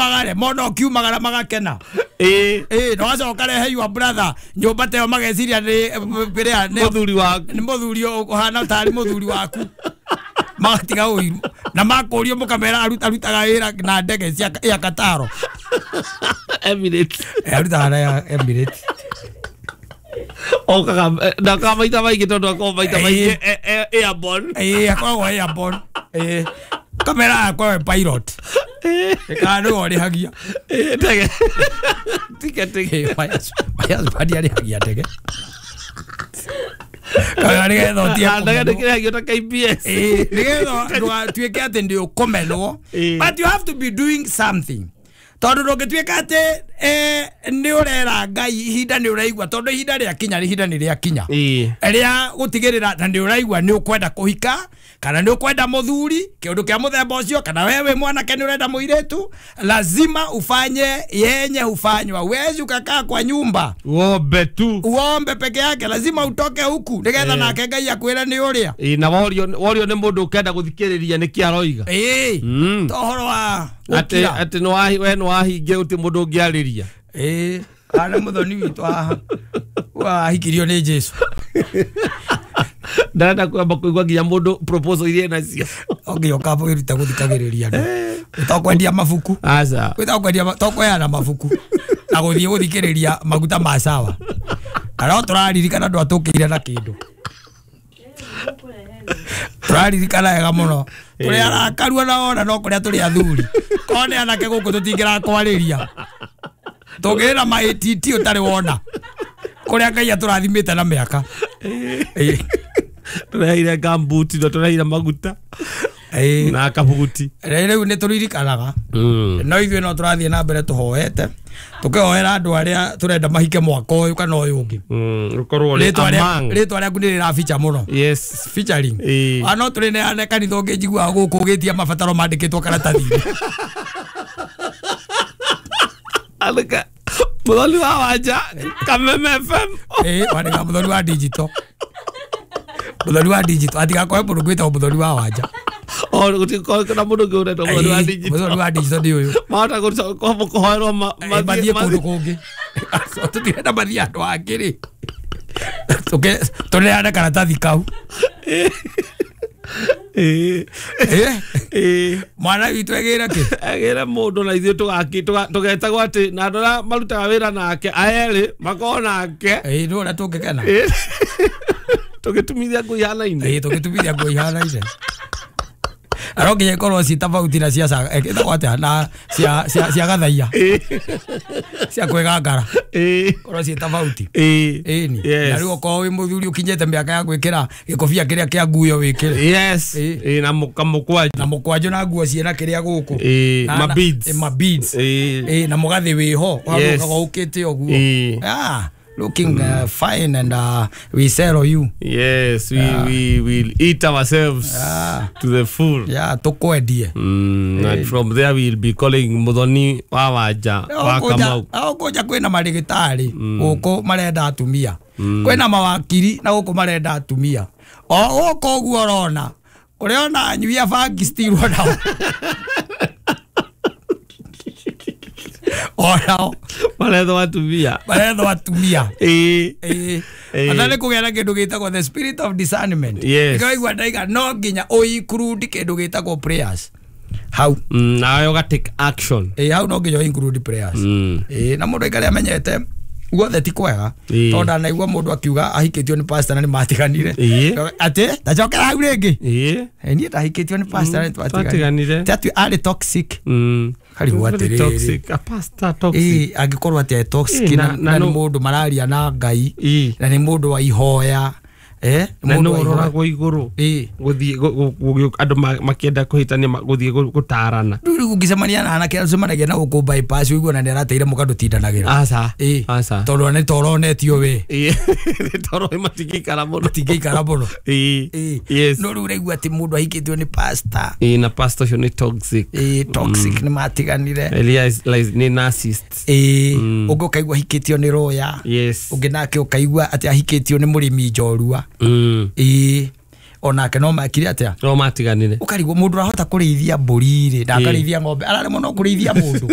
Umagare mona ũkiumagara magakena. No wacoka rehe your brother nyũmba ta ĩyo mageciria nĩ kĩrĩa nĩ Mũthuri waku. Nĩ mũthuri ũhana tarĩ mũthuri waku. Magatiga ũiru na makũrio mũkamera arutaga wĩra na ndege cia ya Kataro. Emirates. Arutaga na Emirates. Okaga na ka maita maingĩ tondũ akoragwo maita maingĩ airborne. Akoragwo airborne. Kamera akoragwo pilot. Kana nĩwe ũrĩhagia. Ndege. Ticket. My husband arĩhagia ndege. Kana nĩgetha ũtige Ndege kũmenwo. nĩkĩrĩhagio ta KBS. Nĩgetha ndũgatuĩke atĩ ndĩ ũkũmenwo. But you have to be doing something. Tondũ ndũngĩtuĩka atĩ nĩ ũrera Ngai ihinda nĩ ũraigua tondũ ihinda rĩakinya ihinda nĩ rĩakinya. Rĩa gũtigĩrĩra na nĩ ũraigua nĩ ũkwenda kũhika kana nĩ ũkwenda mũthuri kĩũndũ kĩa mũthemba ũcio kana wewe wĩ mwanake nĩ ũrenda mũirĩtu lazima ufanye yenye hufanywa. Huwezi ukakaa kwa nyumba Uombe tu. Uombe peke yake, lazima utoke huku nĩgetha nake Ngai akwĩre nĩ ũrĩa. Na worio nĩ mũndũ ũkenda gũthikĩrĩria nĩkĩ aroiga. To ũhoro wa Atĩ gũkira. atĩ nĩ we nĩ wahingia gũtirĩ mũndũ ũngĩarĩria. Kana mũthoni witũ haha wahikirio nĩ Jesu. Ndarenda kwamba kũigua nginya mũndũ proposal iria enacio. Onginya ũkamba wĩrute gũthikagĩrĩria andũ. To kwendia mabuku. Aca. To kwendia to kũheana mabuku na gũthiĩ gũthikĩrĩria maguta ma sawa. Kana no tũraririkana ndwatũkĩire na kĩndũ. Tũraririkana wega mũno. Tũrĩ arakaru ona wona no kũrĩa tũrĩ athuri. Korwo nĩ anake gũkũ tũtingĩrakwarĩria. Tũngĩrĩ ma ATT ũtarĩ wona. Kũrĩa Ngai atũrathimĩte na mĩaka. Tũreheire gambuti na tũreheire maguta na kabuguti. Rĩu nĩ tũririkanaga. No ithuĩ no tũrathiĩ na mbere tũhoete. Tũkĩhoera andũ arĩa tũrenda mahike mwaka ũyũ kana ũyũ ũngĩ. Ũkorwo ũrĩ Rĩtwa among. rĩtwa rĩaku nĩ rĩrabicha mũno. Featuring. No tũrĩ kanitha ũngĩ njiguaga gũkũ ũgĩtia mabataro mandĩkĩtwo karatathi-inĩ. Alika Muthoni wa Wanja Kameme FM. Wandĩkaga Muthoni wa digital. Muthoni wa digital atigakorwo mũndũ gwĩtagwo Muthoni wa Wanja. O gũtikorwo na mũndũ ũngĩ ũretwo Muthoni wa digital. Muthoni wa digital nĩ ũyũ. Mahota kũhoerwo Mathiĩ kũndũ kũngĩ. Tũtirenda mathiĩ andũ angĩ rĩ. Tũneane karatathi kau. Mwana witũ egĩre kĩ? Agĩre mũndũ na ithuĩ tũgetagwo atĩ na andũ arĩa marutaga wĩra nake aerĩ makorwo nake. Nĩ ũrĩa tũngĩkena. Tũgĩtumithia nguo ihanaine. Tũgĩtumithia nguo ihanaine. No nginya ikorwo ci tofauti na cia ĩtagwo atĩa na cia gathaia. Cia kwĩgangara. Korwo ci tofauti. Ĩni. Na rĩu okorwo wĩ mũthuri ũkinyĩte mĩaka ya gwĩkĩra gĩkobia kĩrĩa kĩa nguo wĩkĩre. Na mũkwanjũ. Na mũkwanjũ na nguo ciĩna kĩrĩa gũkũ. Ma beads. Ma beads. Na mũgathĩ wĩho. Ũgacoka ũkĩte ũguo. Looking fine and we sell you. Yes, we will eat ourselves to the full. Yeah, tukwendie. And from there we will be calling Muthoni wa Wanja wa Kamau. Kũnja kwĩna marĩgĩtarĩ gũkũ marenda atumia. Kwĩna mawakiri na gũkũ marenda atumia. O gũkũ ũguo ũrona. Kũrĩa ona anyui a bangi still nao. Onao marethwo atumia. Marethwo atumia. Ata nĩ kũgĩa na kĩndũ gĩtagwo the spirit of discernment. Nĩkaigua ndaiga no nginya ũinclude kĩndũ gĩtagwo prayers. Hau. Nawe ũga take action. Hau no nginya ũinclude prayers. Na mũndũ aikare amenyete guothe ti kwega. Tondũ ndanaigua mũndũ akiuga ahikĩtio nĩ pastor na nĩ matiganire. Atĩ ndacokera hau rĩngĩ. Niĩ ndahikĩtio nĩ pastor na nĩ twatiganire. Ti atĩ arĩ toxic. Karigwo atĩrĩrĩ. Toxic. A pastor toxic. Angĩkorwo atĩ toxic na nĩ mũndũ mararia na Ngai na nĩ mũndũ wa ihoya. Na nĩ ũroragwo igũrũ. Gũthiĩ andũ makĩenda kũhĩtania gũthiĩ gũtarana. Rĩu ũngĩcemania na anake ũcemanagia na gũkũ bypass ũigue na nĩ arateire mũka ndũtindanagĩra. Aca. Aca. Tondũ nĩ toronetio we. Nĩ toro matingĩikara mũno. Matingĩikara mũno. Yes. No rĩu ũraigua atĩ mũndũ ahikĩtio nĩ pastor. Na pastor ũcio nĩ toxic. Toxic nĩ matiganire. Elias nĩ narcissist. Ũngĩ ũkaigua ahikĩtio nĩ lawyer. Ũngĩ nake ũkaigua atĩ ahikĩtio nĩ mũrĩmi njorua. Onake no makire atia? No matiganire. Ukarigwo mundu arahota kurithia mburi ri, ndakarithia ng'ombe, araremwo no kurithia mundu.